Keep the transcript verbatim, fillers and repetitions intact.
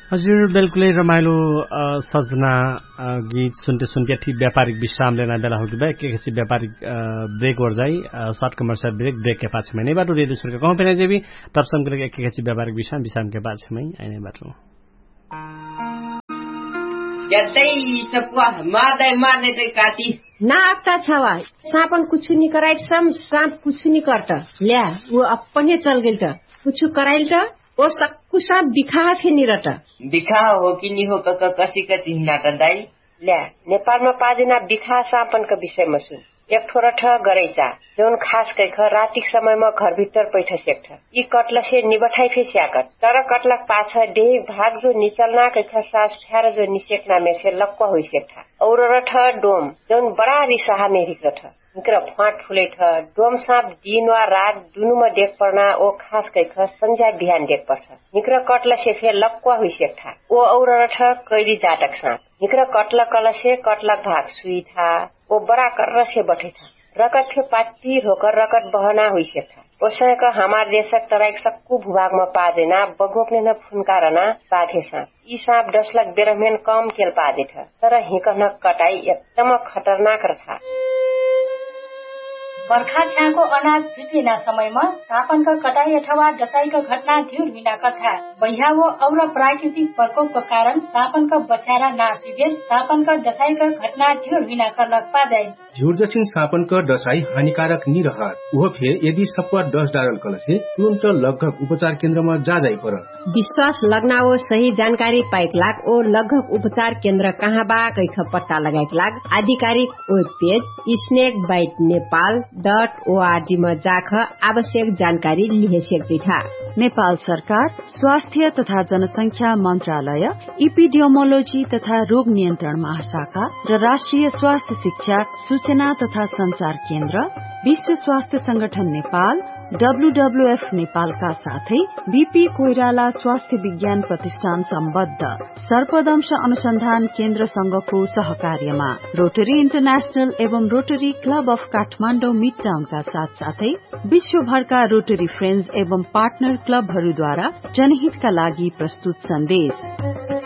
हजुर, बेलकुलै रमाइलो सजना गीत सुन्ते सुन्ते ठिक व्यापारिक विश्राम लेना बेला होगी बा। एकेकछि व्यापारिक ब्रेक ओर जाइ। सर्ट कमर्सियल ब्रेक ब्रेकके पाछेमै नै बाटो रेडियो सुरका कहूँ पेना जेबी। तब समकरक एकेकछि व्यापारिक विश्राम विश्रामके पाछेमै आइनै बाटो। यतै सपुवा मार दाइ मार नै तै काटी। ना अक्ता छावा। साँपन कुछु निकराइट सम साँप कुछु निकर्ट। ल्या उ अपने चलगेल्ट। कुछु कराइल्ट। ओ सक्कु साँप बिखाहा फे निरट। बिखाहा हो कि निहो कक कसिक चिन्हनाट दाइ। ल्या नेपालमा पाजेना बिखाहा साँपनक विषयमा सुन। एकठो रठ गरैचा जौन खास कैख रातिक समयमा घरभित्तर पैठ सेक्ठ। यि कटलसे निबठाइ फे स्याकट तर कटलक पाछ डेहिक भाग जो निचल्ना कैख सास फ्यार जो निसेक्नामेसे लक्वा हुइसेक्ठा। और रठ डोम जौन बडा रिसाहा मेहरिक रठ। हिक्र फ्वाट फुलैठ। डोम साँप दिन वा रात दुनुम देखपर्ना ओ खास कैख सन्झ्या बिहान देखपर्ठ। हिक्र कटलसे फे लक्वा हुइसेक्ठा। ओ और रठ कैली जाटक साँप। हिक्र कटलक कलसे कटलक भाग सुइठा। ओ बडा कर्रसे बठैठा। रकत फे पात्ती ढोकर रकत बहना हुइसेक्ठा। ओसैक हमार देशक तराइक सक्कु भुभागमा पाजेना बघोक नेहन फुन्कारना बाघे साँप। यि साँप डसलक बेरहमेन कम केल पाजेठ। तर हिकहनक कटाइ एकदम खतरनाक रथा। बर्खा छ्याको अनाज फिटिना समयमा साँपनक कटाइ अथवा डसाइक घटना ढिउर हुइना कथा। बैहा वो और प्राकृतिक प्रकोपक कारण साँपनक बच्यारा नास हुइबेर साँपनक डसाइक घटना ढिउर हुइना कर्लक पाजाइ। झिउर्जसिन साँपनक डसाइ हानिकारक निरहत उहो फेर यदि सप्वा डस डारल कलसे तुरुन्त लग्घक उपचार केन्द्रमा जाजाइ परत। विश्वास लग्ना ओ सही जानकारी पाइक लाग ओ लग्घक उपचार केन्द्र कहाँ बा कैख पत्ता लगाइक लाग आधिकारिक web page snake bite Nepal dot ORG म जाख आवश्यक जानकारी लिहे सेक्जिठा। नेपाल सरकार स्वास्थ्य तथा जनसंख्या मन्त्रालय इपिडियोमोलोजी तथा रोग नियन्त्रण महाशाखा र राष्ट्रिय स्वास्थ्य शिक्षा सूचना तथा सञ्चार केन्द्र विश्व स्वास्थ्य संगठन नेपाल डब्ल्युडब्ल्युएफ नेपालका साथै बिपी कोइराला स्वास्थ्य विज्ञान प्रतिष्ठान सम्बद्ध सर्पदंश अनुसन्धान केन्द्रसँगको सहकार्यमा रोटरी इन्टरनेशनल एवं रोटरी क्लब अफ काठमाडौँ मिडटाउनका साथसाथै विश्वभरका रोटरी फ्रेन्ड्स एवं पार्टनर क्लबहरूद्वारा जनहितका लागि प्रस्तुत सन्देश।